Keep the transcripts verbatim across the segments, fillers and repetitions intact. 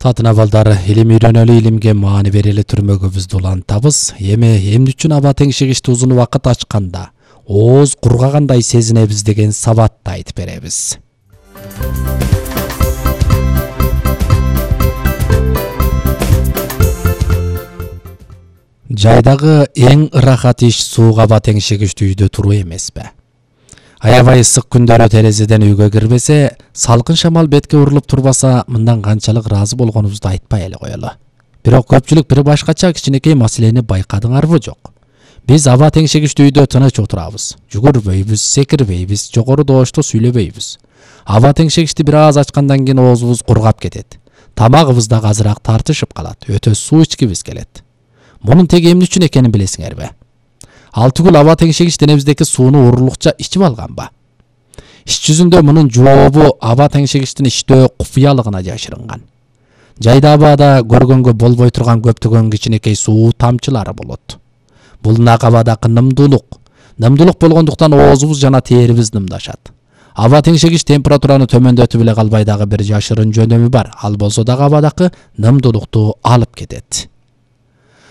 Татына балдар, илим үйрөнөлү, илимге маани берели түрмөгөбүздү улантабыз. Эми эмне үчүн аба теңшегичти узун убакыт ачканда ооз кургагандай сезинебиз деген сабатты айтып беребиз. Жайдагы эң ырахат иш сууга аба теңшегичти үйдө туруу эмеспи? Аябай ысык күндөрү терезеден үйгө кирбесе, салкын шамал бетке урулуп турбаса, мындан канчалык ыраазы болгонубузду айтпай эле коелу. Бирок көпчүлүк бир башкача кичинекей маселени байкадыңарбы жок? Биз аба теңшегичти үйдө тыныч отурабыз. Жүгүрбөйбүз, секирбейбиз, жогору добушту сүйлөбөйбүз. Аба теңшегичти бир аз ачкандан кийин оозубуз кургап кетет. Тамагыбыз да азыраак тартышып калат, өтө суу ичкибиз келет. Мунун теги эмне үчүн экенин билесиңерби? Ал түгүл аба теңшегич денебиздеги сууну урурлукча ичип алганбы? Иш жүзүндө мунун жообу аба теңшегичтин иштөө купуялыгына жашырынган. Жайда абада көргөнгө болбой турган көптөгөн кичинекей суу тамчылары болот. Бул нак абадагы нымдуулук. Нымдуулук болгондуктан оозубуз жана терибиз нымдашат. Аба теңшегич температураны төмөндөтүп эле калбай дагы бир жашырын жөнөмү бар. Ал болсо дагы абадагы нымдуулукту алып кетет.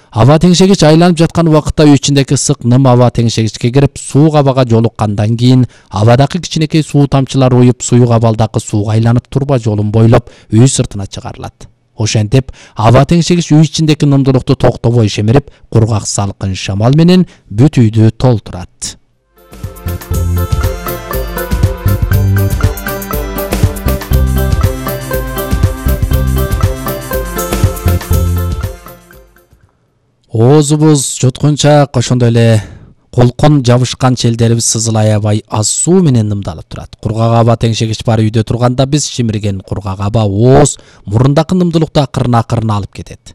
Аба теңшегич айланып жаткан убакытта үй ичиндеги ысык ным аба теңшегичке кирип, суук абага жолуккандан кийин абадагы кичинекей суу тамчылары уюп, суюк абалдагы сууга айланып турба жолун бойлоп үй сыртына чыгарылат. Ошентип, аба теңшегич үй ичиндеги нымдуулукту токтобой шемирип, кургак салкын шамал менен бүт үйдү толтурат. Оозубуз жуткунчак, ошондой эле колкон жабышкан челдерибиз сызыл аябай аз суу менен нымдалып турат. Кургак аба теңшегич бар үйдө турганда биз шимирген кургак аба ооз мурундагы нымдуулукту акырын-акырын алып кетет.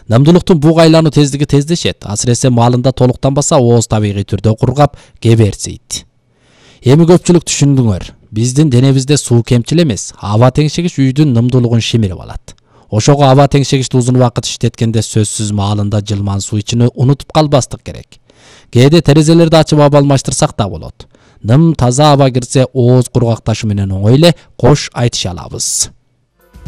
Нымдуулуктун буга айлануу тездиги тездешет. Асыресе маалында толуктанбаса, ооз табигый түрдө кургап кеберсейт. Эми көпчүлүк түшүндүңөр. Биздин денебизде суу кемчил эмес. Аба теңшегич үйдүн нымдуулугун шимирип алат. Ошого аба теңшегичти узун убакыт иштеткенде сөзсүз маалында жылман суу ичини унутуп калбастык керек. Кээде терезелерди ачып аба алмаштырсак да болот. Ным таза аба кирсе ооз кургакташы менен оңой эле кош айтыша алабыз.